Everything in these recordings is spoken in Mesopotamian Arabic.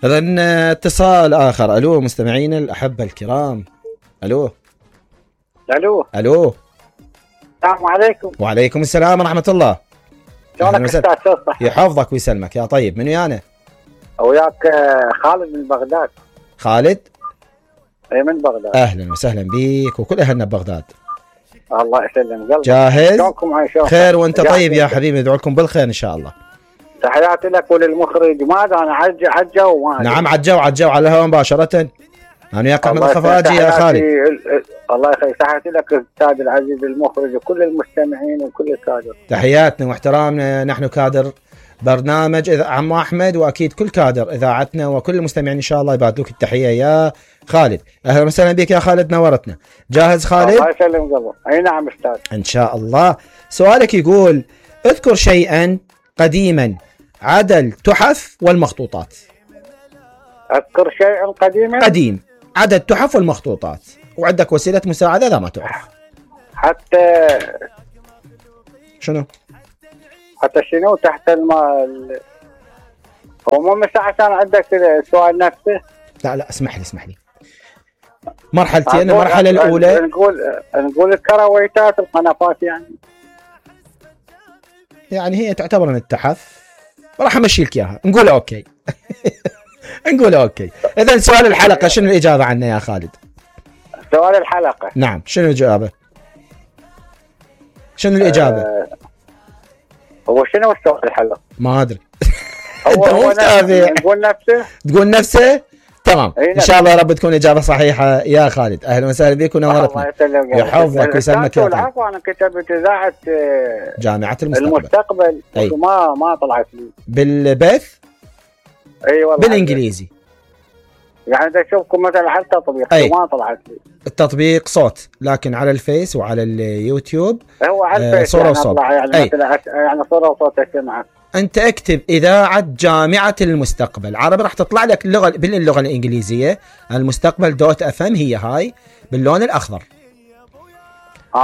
إذن اتصال آخر. ألو مستمعين الأحبة الكرام. ألو الو ألو. السلام عليكم. وعليكم السلام ورحمة الله. شلونك استاذ صح؟ يحفظك ويسلمك يا طيب. من ويانا؟ وياك خالد من بغداد. خالد؟ اي من بغداد. أهلا وسهلا بيك وكل أهلنا ببغداد. الله يسلم قلبك. جاهز؟ شلونكم عايشون؟ خير وأنت طيب يا حبيبي، ندعو لكم بالخير إن شاء الله. تحياتي لك وللمخرج. ماذا أنا عجة وما نعم عجوا على الهواء مباشرة. أنا وياك أحمد الخفاجي يا خالد. الله يخليك. تحياتي لك الأستاذ العزيز المخرج وكل المستمعين وكل الكادر. تحياتنا واحترامنا، نحن كادر برنامج عم أحمد، وأكيد كل كادر إذاعتنا وكل المستمعين إن شاء الله يبادلوك التحية يا خالد. أهلا وسهلا بك يا خالد، نورتنا. جاهز خالد؟ الله يسلم قلبك. أي نعم أستاذ إن شاء الله. سؤالك يقول: اذكر شيئا قديما عدا التحف والمخطوطات. أذكر شيئا قديم عدا التحف والمخطوطات، وعندك وسيلة مساعدة إذا ما تعرف. حتى شنو تحت الماء. هو مو عشان عندك السؤال نفسه. لا اسمح لي مرحلتين. المرحلة الأولى نقول الكرويتات القنفات يعني هي تعتبر من التحف. راح امشي لك اياها، نقول اوكي. نقول اوكي. اذا سؤال الحلقة شنو الإجابة عنه يا خالد؟ سؤال الحلقة نعم، شنو الإجابة؟ هو شنو السؤال الحلقة؟ ما ادري. هو تقول نفسه. تمام. ان شاء الله يا رب تكون اجابه صحيحه يا خالد. اهلا وسهلا بك ونورتنا. يحفظك ويسلمك يا طيب. انا كتبت اذاعه جامعه المستقبل. ما طلعت لي بالبث. اي والله بالانجليزي. يعني اذا اشوفكم مثلا على التطبيق ما طلعت لي. التطبيق صوت، لكن على الفيس وعلى اليوتيوب هو على الفيس صوره وصوت. يعني صوره وصوت اسمعها. أنت اكتب إذاعة جامعة المستقبل عربي، راح تطلع لك باللغة الإنجليزية المستقبل .fm. هي هاي باللون الأخضر.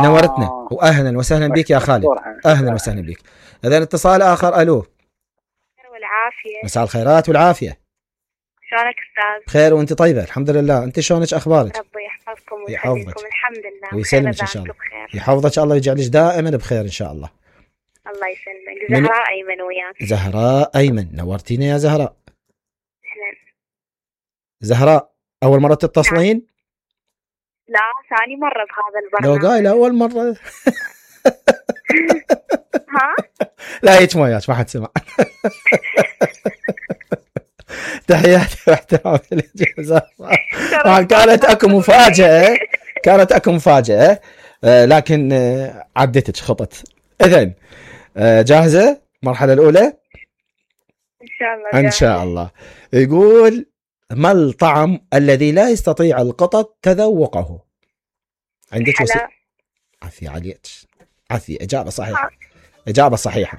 نورتنا وأهلا وسهلا بك يا خالد. أهلا وسهلا بك. إذن اتصال آخر. ألو. والعافية. مساء الخيرات والعافية. شلونك أستاذ؟ بخير وأنت طيبة الحمد لله. أنت شلونك أخبارك؟ ربي يحفظكم ويخليكم. الحمد لله ويسلمك إن شاء الله. يحفظك الله ويجعلك دائما بخير إن شاء الله. الله يسلمك. زهراء أيمن وياك. زهراء أيمن، نورتينا يا زهراء. أهلا زهراء، أول مرة تتصلين؟ لا ثاني مرة بهذا البرنامج. لو قايل أول مرة. ها؟ لا هيك ما حد سمع. تحياتي واحترامي لك زهراء. كانت أكو مفاجأة. لكن عدتك خطت. إذن جاهزة المرحلة الأولى؟ إن شاء الله. إن شاء الله. يقول: ما الطعم الذي لا يستطيع القطط تذوقه؟ عندك عافية عليك. عافية. إجابة صحيحة.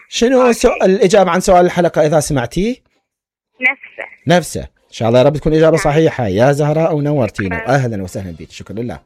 شنو الإجابة عن سؤال الحلقة إذا سمعتيه؟ نفسه. إن شاء الله يا رب تكون إجابة صحيحة يا زهراء ونورتينا. أهلا وسهلا بك. شكرا لله.